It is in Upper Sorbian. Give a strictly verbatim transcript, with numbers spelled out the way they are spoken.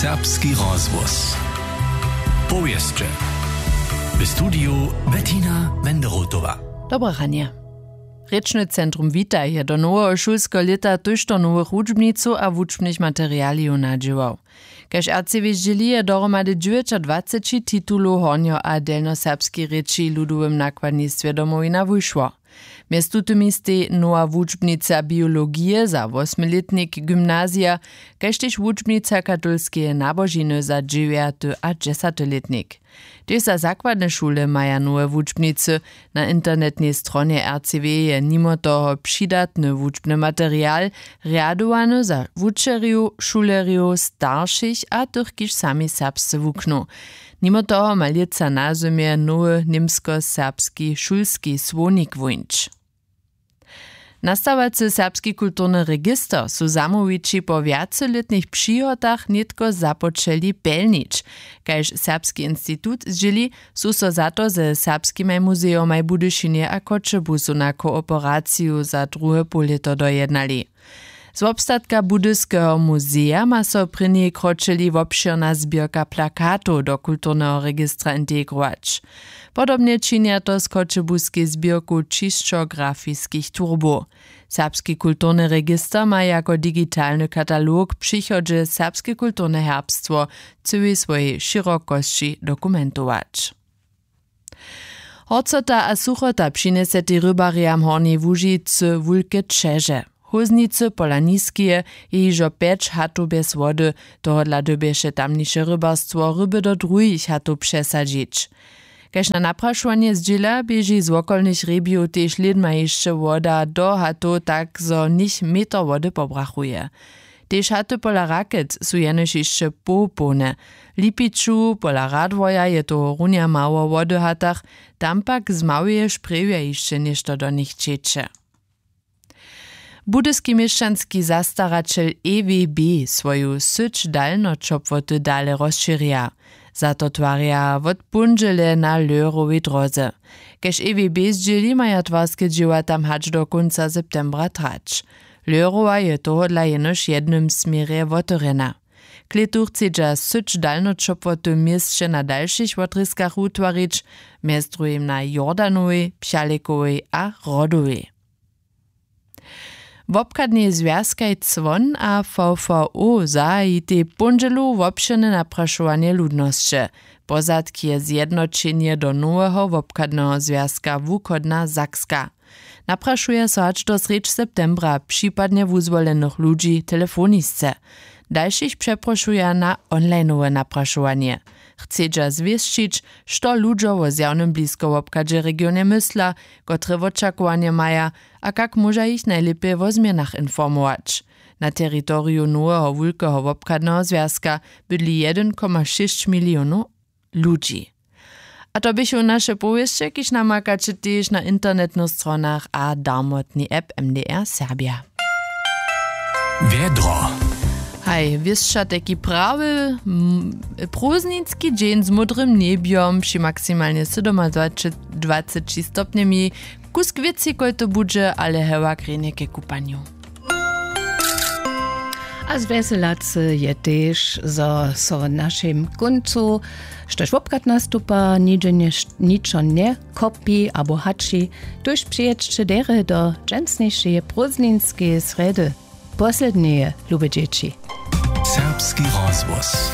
Serbski rozhłos. Powěsće. W studiju Bettina Wenderotowa. Dobre ranje. Rěčny centrum Witaj je do noweho šulskeho lěta tójšto nowych wučbnicow a wučbnych materialijow nadźěłał. Kaž R C W zdźěli, je dohromady dźewjećadwaceći titulow hornjo- a delnjoserbskej rěči w ludowym nakładnistwje Domowina wušło. Mjez tutymi stej nowa wučbnica biologije za wosmilětnik gymnazija, kaž tež wučbnica katolskeje nabožiny za dźewjaty a dźesatylětnik. Tež za zakładne šule maja nowe wučbnicy. Na internetnej stronje R C W je nimo toho přidatny wučbny material, rjadowany za wučerjow, šulerjow, staršich a tych, kiž sami serbsce wuknu. Nimo toho ma lětsa na zymje nowy němskoserbski šulski słownik wóńć. Nastawacy serbski kulturny register su zamołwići po wjacelětnych přihotach nětko započeli pjelnić. Kaž Serbski institut zdźěli, su so za to ze serbskimaj muzejomaj w Budyšinje a Choćebuzu na kooperaciju za druhe połlěto dojednali. Z wobstatka Budyskeho muzeja ma so prěni kročeli wobšěrna zběrka plakatow do kulturneho registra integrować. Podobnje činja to z choćebuskej zběrku ćišćografiskich turbow. Serbski kulturny register ma jako digitalny katalog w přichodźe serbske kulturne herbstwo w cyłej swojej šěrokosći dokumentować. Horcota a suchota přinjesetej rybarjam Hornjej Łužicy wulke ćeže. Hóznicy pola Niskeje je hižo pjeć hatow bjez wody, tohodla dyrbješe tamniše rybarstwo ryby do druhich hatow přesadźić. Kaž na naprašowanje zdźěla, běži z wokolnych hrjebijow tež lědma hišće woda do hatow, tak zo nich meter wody pobrachuje. Tež haty pola Rakec su jenož hišće połpołne. W Lipiću pola Radworja je tohorunja mało wody w hatach, tam pak z Małyje šprjewja hišće něšto do nich ćeće. Budyski měšćanski zastaraćel E W B swoju syć dalnoćopłoty dale rozšěrja. Za to twarja wot póndźele na Lehrowej dróze. Kaž E W B zdźěli, maja twarske dźěła tam hač do kónca septembra trać. Lehrowa je tohodla jenož w jednym směrje wotewrjena. K lětu chcedźa syć dalnoćopłoty w měsće na dalšich wotrězkach wutwarić, mjez druhim na Jordanowej, Pchalekowej a Hrodowej. Wobchadnej zwjazkaj Cwon a V V O zahajitej póndźelu wobšěrne naprašowanje ludnosće. Pozadk je zjednoćenje do noweho wobchadneho zwjazka Wuchodna Sakska. Naprašuja so hač do srjedź septembra připadnje wuzwolenych ludźi telefonisce. Dalšich přeprošuja na onlineowe naprašowanje. Chcedźa zwěsćić, što ludźo wo zjawnym bliskowobchadźe w regionje mysla, kotre wočakowanje maja a kak móža jich najlěpje wo změnach informować. Na teritoriju noweho wulkeho wobchadneho zwjazka bydli jedyn koma šěsć milionow ludźi. A to běchu naše powěsće, kiž namakaće tež na internetnych stronach a darmotnej app M D R Serbja. Wjedro. Haj, wěsća tajki prawy, m, prózdninski dźeń z módrym njebjom při maksimalnje sydomadwaceći stopnjemi. Kusk wěcej kóždy budźe, ale hewak rjenje ke kupanju. A zwjeselacy je tež, zo so w našim kóncu štož wobchad nastupa, nihdźe nje, ničo njekopi abo hači. Tuž přijědźće derje do dźensnišeje prózdninskeje srjedy, posledneje, lube dźěći. Serbski rozhłos.